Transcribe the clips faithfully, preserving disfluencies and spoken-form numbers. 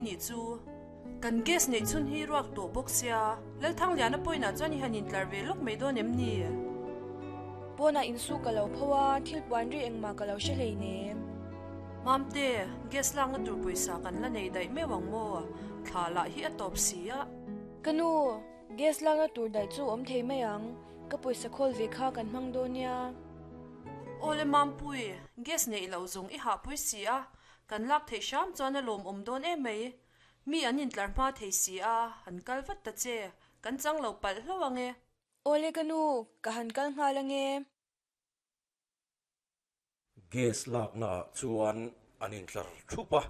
Nih chu. Kan gas neih chhun hi ruak tawh bawk sia, Lalthangliana pawhin ah chuan i han intlar ve lawk mai dawn em ni? Pawnah insu ka lo pho a, thil puan ri engmah ka lo hre hleinem. Mamte, gas lakna tur pawisa kan la nei daih meuh ang maw? Thla lah hi a tawp si a. Ka nu, gas lakna tur daih chu awm thei mai ang, ka pawisa khawl ve kha kan hmang dawn nia. Awle Mampui, gas neih loh zawng i hahpui si a, kan lak theih hram chuan a lawmawm dawn em mai. Mi an intlar hma thei si a, han kal vat ta che, kan chang lo palh hlauh ang e. Awle ka nu, ka han kal nghal ang e. Gas lakna ah chuan an intlar thup a.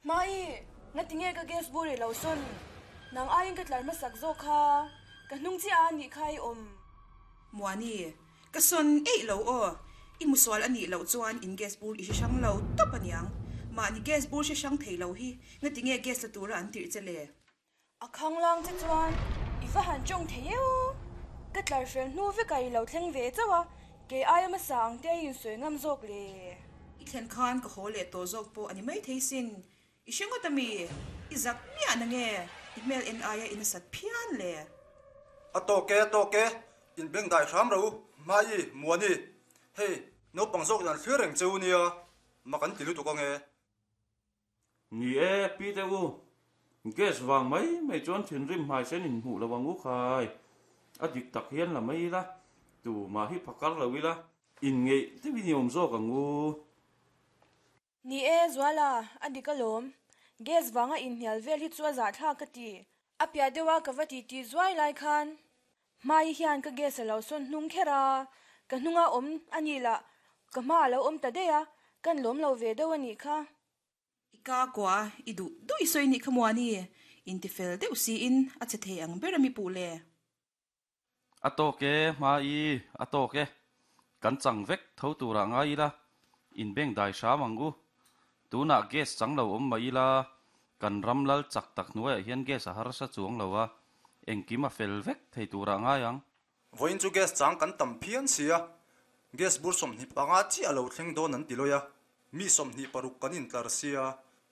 Mai, ngatinge ka gas bur i lo sawn? Nang aiin ka tlar hmasak zawk kha, ka hnung chiah a nih kha i awm. Muani, ka sawn eih lo aw. I musual a nih loh chuan in gas bur i hre hrang lo tawp aniang. Mahni gas bur hre hrang thei lo hi ngatinge gas la tura an tirh che le? A khanglang che chuan i va han tawng thei eu. Ka tlar fel hnu vekah i lo thleng ve chauh a, kei aia hmasa ang te i insawi ngam zawk le. I thlen khan ka haw leh tawh zawk pawh a ni maithei sin. I hre ngawt ami? I zak miah na nge? I hmel en aia i nasat phian le. A tawk e, a tawk e, in beng dai hram ro, Hmai, Muani, hei, naupang zawk in an thlir reng che u nia, mak an ti lutuk ange. Ni e, pi te u, gas vang mai mai chuan thinrim hmai sen in hmuh lo ang u khai. A dik tak hian la mai ila, tumah hi phakar lo ila, inngeih deuhin i awm zawk ang u. Ni e, Zuala, a dik alawm. Gas vanga inhnial vel hi chu a zahthlak ka ti. A piah deuha ka va titi zuai lai khan Hmai hian ka gas a lo sawn hnung kher a, ka hnunga awm a nih lah ka hma a lo awm ta daih a, kan lawm lo ve deuh a nih kha. I ka kua i duh duh i sawi nih kha Muani, intifel deuh siin a che thei ang ber a mi puh le. A tawk e, Hmai, a tawk e. Kan chang vek tho turah ngai ila, inbeng dai hram ang u. Tunah gas chang lo awm mah ila, kan ram lal chak tak hnuaiah hian gas a harsa chuang lo a, engkim a fel vek thei turah ngai ang. Vawiin chu gas chang kan tam phian si a, gas bur sawmhnih panga chiah a lo thleng dawn an ti lawi a, mi sawmhnih paruk kan intlar sia,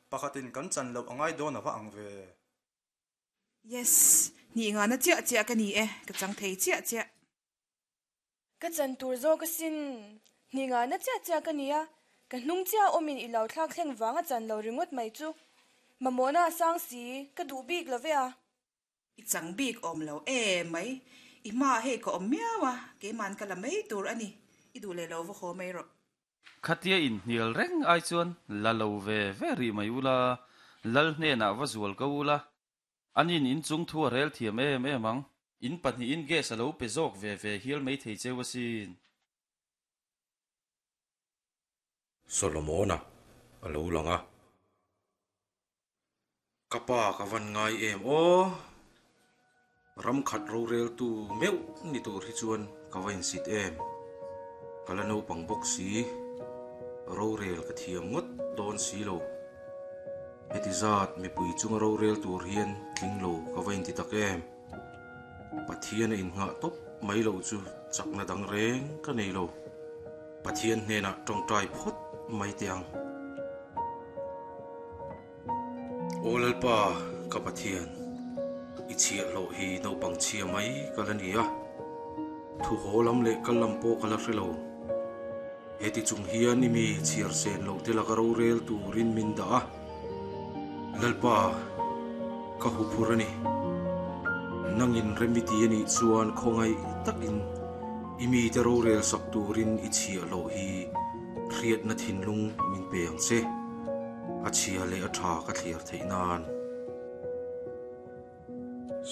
pakhatin kan chan loh a ngai dawn a va ang ve. Yes, hnih ngana chiah chiah ka ni e, ka chang thei chiah chiah. Ka chan tur zawk asin, hnih ngana chiah chiah ka ni a, ka hnung chiah awmin i lo thlak thleng vang a chan lo ringawt mai chu. Mamawhna a sang si, ka duh bik lo ve a. I chang bik awm lo em mai, i hmaah hei ka awm miau a, keiman ka la mai tur a ni, i duh leh lo va haw mai rawh. Khatia inhnial reng ai chuan la lo ve ve rih mai ula, lal hnenah va zual ko ula, anin inchung thu a rel thiam em em ang. In pahnihin gas a lo pe zawk ve ve hial mai thei cheu asin. Solomona a lo lang a. Ka pa ka van ngai em aw. Ram khat roreltu meuh ni tur hi chuan ka va insit em. Ka la naupang bawk si, rorel ka thiam ngawt dawn si lo. Heti zat mipui chunga rorel tur hian tling lo ka va inti tak em. Pathian a innghah tawp mai loh chu chakna dang reng ka nei lo. Pathian hnenah tawngtai phawt mai teh ang. Aw Lalpa, ka Pathian, i chhiahhlawh hi naupang chhia mai ka la ni a, thu haw lam leh kal lam pawh ka la hre lo. Heti chung hian i mi chhiar sen loh te laka rorel turin min dah a. Lalpa, ka huphur a ni. Nangin remiti a nih chuan khawngaih takin i mite rorel sak turin i chhiahhlawh hi hriatna thinlung min pe ang che. A chhia leh a tha ka thliar theih nan.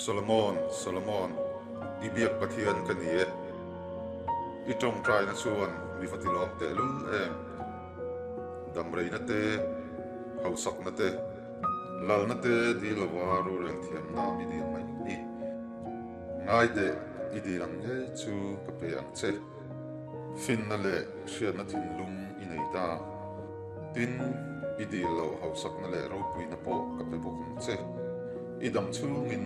Solomon, Solomon, i biak Pathian ka ni e. I tawngtaina chuan mi va tilawm tehlul em. Damreina te, hausakna te, lalna te dil lova rorel thiamna mi dil mai ni. Ngai teh, i dil ang ngei chu ka pe ang che. Finna leh hriatna thinlung i nei ta. Tin, i dil loh hausakna leh ropuina pawh ka pe bawk ang che. I dam chhungin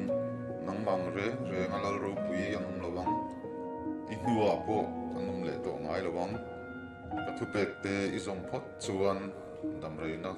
nangmah ang reng reng a lal ropui an awm lo ang. I hnuah pawh an awm leh tawh ngai lo ang. Ka thupek te i zawm phawt chuan damreina